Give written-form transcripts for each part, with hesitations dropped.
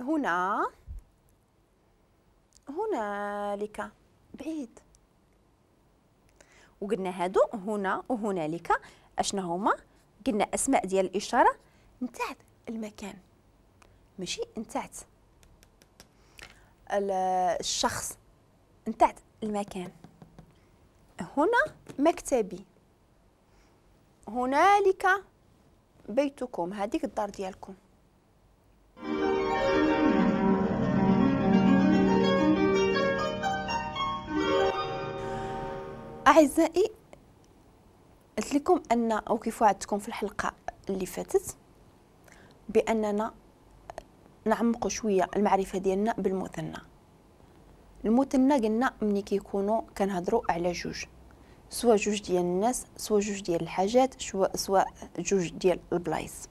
هنا، هنالك، بعيد. وقلنا هادو هنا وهنالك اشنا هما؟ قلنا اسماء ديال الاشارة نتاع المكان، ماشي نتاع الشخص، نتاع المكان. هنا مكتبي، هنالك بيتكم، هذيك الدار ديالكم. أعزائي، قلت لكم أن أو كيف وعدتكم في الحلقة اللي فاتت بأننا نعمقوا شوية المعرفة ديالنا بالمثنى. المثنى قلنا ملي كيكونوا كنهضروا على جوج، سواء جوج ديال الناس، سواء جوج ديال الحاجات، سواء جوج ديال البلايص.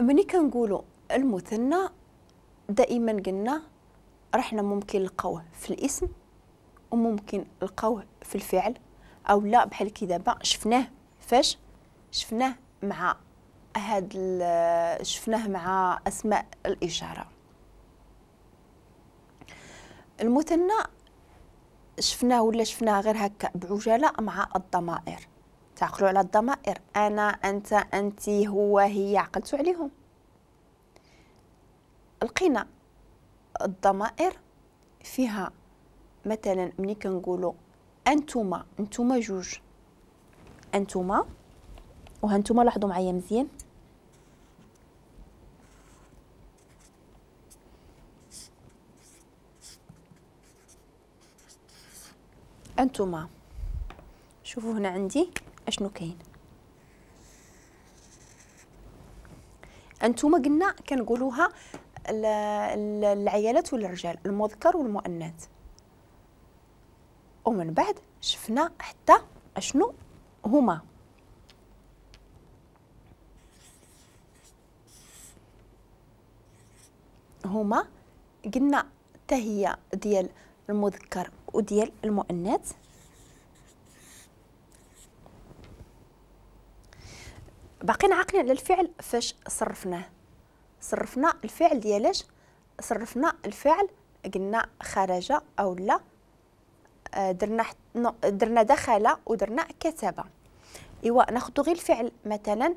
ملي كنقولوا المثنى دائما قلنا رحنا ممكن نلقاوه في الاسم وممكن نلقاوه في الفعل او لا، بحال كي دابا شفناه فاش شفناه مع هاد شفناه مع اسماء الاشارة. المثنى شفناه ولا شفناه غير هكا بعجاله مع الضمائر. تعقلوا على الضمائر، انا، انت، انت، هو، هي، عقلتوا عليهم. لقينا الضمائر فيها مثلا ملي كنقولوا انتما، انتما جوج، انتما، وهانتوما لاحظوا معايا مزيان، انتما. شوفوا هنا عندي اشنو كاين. انتما قلنا كنقولوها العيالات والرجال، المذكر والمؤنث. ومن بعد شفنا حتى اشنو هما. هما قلنا حتى هي ديال المذكر وديال المؤنث. باقيين عاقلين على الفعل فاش صرفناه. صرفنا الفعل ديالاش؟ صرفنا الفعل قلنا خرج او لا، درنا دخل ودرنا كتب. ايوا ناخذ غير الفعل مثلا